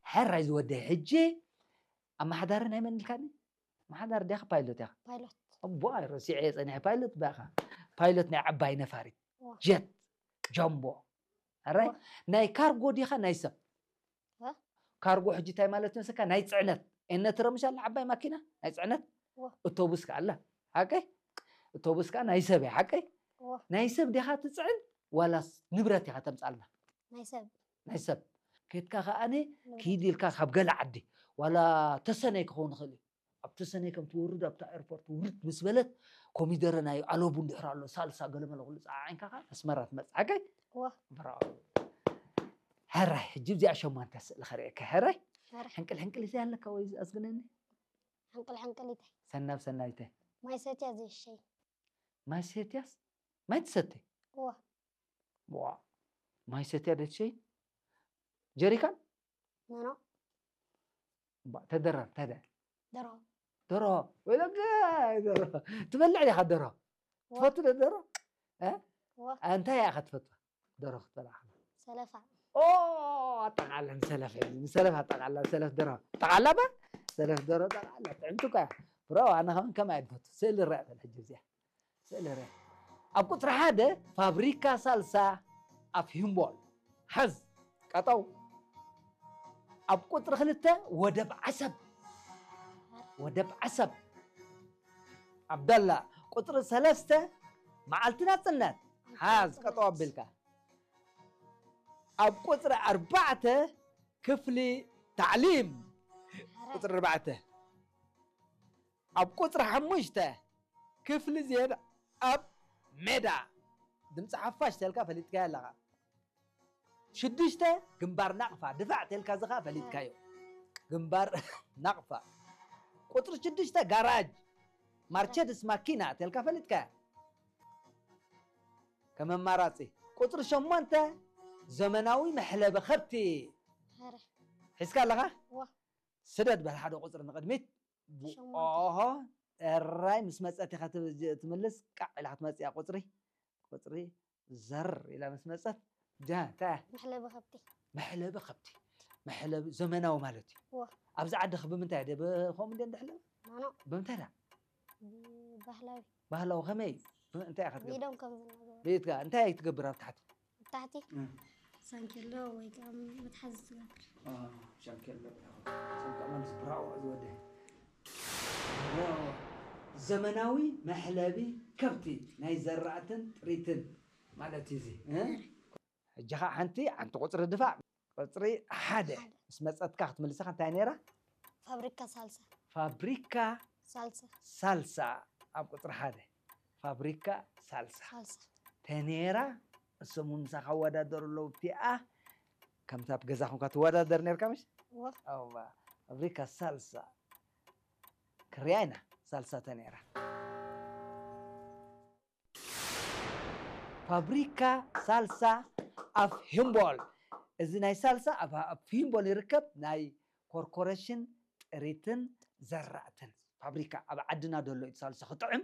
ሕራይ ዝወደ ሕጂ ኣመሓዳሪ ናይ መን ኢልካኒ? ኣመሓዳሪ ዲኻ ፓይሎት ኢኻ? ፓይሎት እቦ ረሲዐ ጸኒሐ። ፓይሎት ባኻ፣ ፓይሎት ናይ ዓባይ ነፋሪት ዋ። ጀት ጃምቦ። ኣራይ ዋ። ናይ ካርጎ ዲኻ ናይ ሰብ? ዋ። ካርጎ ሕጂ እንታይ ማለት ይመስለካ? ናይ ጽዕነት ኤነ ትረምሻል ዓባይ ማኪና ናይ ጽዕነት ዋ። እቶቡስ ከኣላ ሓቀይ እቶቡስ ከኣ ናይ ሰብ እያ ሓቀይ ዋ። ናይ ሰብ ዲኻ ትጽዕን ዋላስ ንብረት ኢኻ ተምጻልና? ናይ ሰብ ናይ ሰብ ከድካ ከኣነ ንብረት። ኪድ ኢልካ ካብ ገለ ዓዲ ዋላ ተሰነይ ክኸውን ይኽእል እዩ። ኣብ ተሰነይ ከም ትወርድ ኣብታ ኤርፖርት ውርድ ምስ በለት ኮሚደረ ናይ ኣለቡ እንድሕር ኣሎ ሳልሳ ገለመለ ኩሉ ጸዓዒንካ ከኣ ኣስመራ ትመጽእ ሓቀይ ዋ። ብራኦ። ሕራይ ሕጂ እዚኣ ሸማንተ ስእሊ ከርእየካ ሕራይ ሕራይ። ሕንቅል ሕንቅል ይዘይ ኣለካ ወይ ኣዝግነኒ ሕንቅል ሕንቅሊተይ ሰናብ ሰናይተ ማይ ሰትያ ዘይሸይ ማይ ሰትያስ ማይ ትሰትይ ዋ ዋ ማይ ሰትያ ደትሸይ ጀሪካን ኖኖ ባ- ተደረር ተደ ደሮ ደሮ ወይለጋ ደሮ ትበልዕ ዲኻ ደሮ ትፈቱ ዶ ደሮ እ? ዋ እንታይ ኢኻ ትፈትዋ ደሮ ክትበልዓ ከላ? ሰለፋ ኦ ኣጠቃላ ንሰለፍ ሕጂ ንሰለፍ ኣጠቃላ ሰለፍ ደሮ ጠቃላ ባ ሰለፍ ደሮ ጠቃላ ጥዕምቲ እኳ እያ ብሮ ኣነ ከውን ከመይ ኣይድፈቱ ስእሊ ርኣ በል ሕጂ እዚኣ ስእሊ ርኣ ኣብ ቁፅሪ ሓደ ፋብሪካ ሳልሳ ኣፍ ሂምቦል ሓዝ ቀጠው ኣብ ቁፅሪ ክልተ ወደብ ዓሰብ ወደብ ዓሰብ ዓብደላ ቁፅሪ ሰለስተ መዓልቲ ናፅነት ሓዝ ቀጠው ኣቢልካ ኣብ ቁፅሪ ኣርባዕተ ክፍሊ ታዕሊም ቁፅሪ ኣርባዕተ ኣብ ቁፅሪ ሓሙሽተ ክፍሊ ዜድ ኣብ ሜዳ ድምፂ ሓፋሽ ተልካ ፈሊጥካዮ ኣለኻ ሽዱሽተ ግንባር ናቕፋ ድፋዕ ተልካ ዝኻ ፈሊጥካዮ ግንባር ናቕፋ ቁፅሪ ሽዱሽተ ጋራጅ ማርቸድስ ማኪና ተልካ ፈሊጥካያ ከም ኣማራፂ ቁፅሪ ሸሞንተ ዘመናዊ መሕለቢ ከብቲ ሕረ ሒዝካ ኣለኻ ዋ ስደድ በል ሓደ ቁፅሪ ንቕድሚት ሸሞንተ። ኦሆ እራይ ምስ መፀት ኢኻ ትብ- ትምልስ ቃዕ ኢላ ክትመፅእ እያ ቁፅሪ ቁፅሪ ዘር ኢላ ምስ መፀት ጃ እንታይ እያ መሕለቢ ከብቲ መሕለቢ ከብቲ መሕለቢ ዘመናዊ ማለት እዩ ዋ ኣብዚ ዓድኽ ብምንታይ ደ ከምኡ እንደ እንድሕለብ ማኖ ብምንታይ ዳ ባህላዊ ባህላዊ ከመይ እዩ እንታይ ኢኻ ትገብር ቢዶም ከም ዝናገሩ ቤትካ እንታይ ትገብር ኣብ ታሕቲ ታሕቲ እም። ሳንኬሎ ወይ ከዓ መትሓዚ ትገብር ሻንኬሎ ሰንቀማንስ ብራዎ ዝወደ ብራዎ ዘመናዊ መሕለቢ ከብቲ ናይ ዘራእትን ጥሪትን ማለት እዩ እዚ እ? ሕጂ ከዓ ሓንቲ ሓንቲ ቁፅሪ ድፋዕ ቁፅሪ ሓደ ምስ መፀትካ ክትምልሰኻ እንታይ ነይራ ፋብሪካ ሳልሳ ፋብሪካ ሳልሳ ሳልሳ ኣብ ቁፅሪ ሓደ ፋብሪካ ሳልሳ ሳልሳ ተኔራ እሶም እውን ምሳኻ ወዳደሩ ኣለዉ ብቲኣ ከምቲ ኣብ ገዛ ኮንካ ትወዳደር ነርካ ምሽ ዋ ኣዋ ፋብሪካ ሳልሳ ክርያ ኢና ሳልሳ ተኔራ ፋብሪካ ሳልሳ ኣፍ ሂምቦል እዚ ናይ ሳልሳ ኣብ ኣብ ሂምቦል ይርከብ ናይ ኮርኮሬሽን ጥሪትን ዘራእትን ፋብሪካ ኣብ ዓድና ደሎ እዩ ሳልሳ ክጥዕም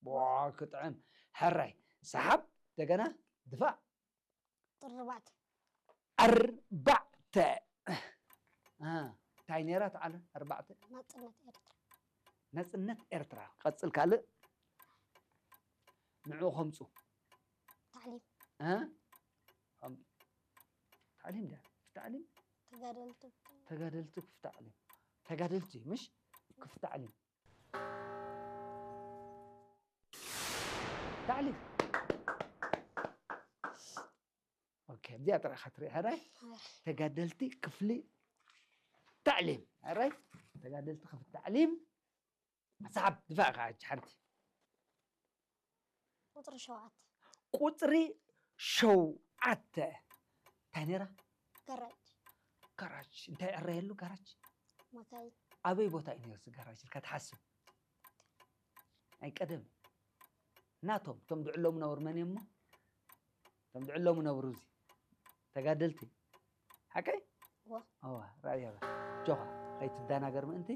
ዋ ክጥዕም ሕራይ ሰሓብ እንደገና ድፋዕ ጥርባዕት ኣርባዕተ እ፣ እንታይ ነይራ ተዓለ ኣርባዕተ ናፅነት ኤርትራ ነፅነት ኤርትራ ቀፅል ካልእ ንዑ ከምፁ ታዕሊም እ? ከም- ታዕሊም ዳ ታዕሊም ተጋደልቲ ተጋደልቲ ክፍ ታዕሊም ተጋደልቲ ምሽ ክፍ ታዕሊም ታዕሊም ኦኬ እዚኣ ጥራይ ክትርኢ ሕራይ ተጋደልቲ ክፍሊ ታዕሊም ሕራይ ተጋደልቲ ክፍሊ ታዕሊም ሰሓብ ድፋዕ ከዓ ሕጂ ሓንቲ ቁፅሪ ሸውዓተ ቁፅሪ ሸውዓተ እንታይ ነይራ ገራጅ ጋራጅ እንታይ ዕረየሉ ጋራጅ መካይን ኣበይ ቦታ እዩ ነይሩ እዚ ጋራጅ ኢልካ ትሓስብ ናይ ቀደም ናቶም እቶም ድዕሎም ነብሩ መን እዮም እሞ እቶም ድዕሎም ነብሩ እዚ ተጋደልቲ ሓቀይ ዋ ኣዋ ራእያ በል ጆኻ ከይትደናገር ምእንቲ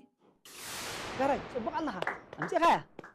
ጋራጅ ፅቡቕ ኣለኻ ኣምፂኻያ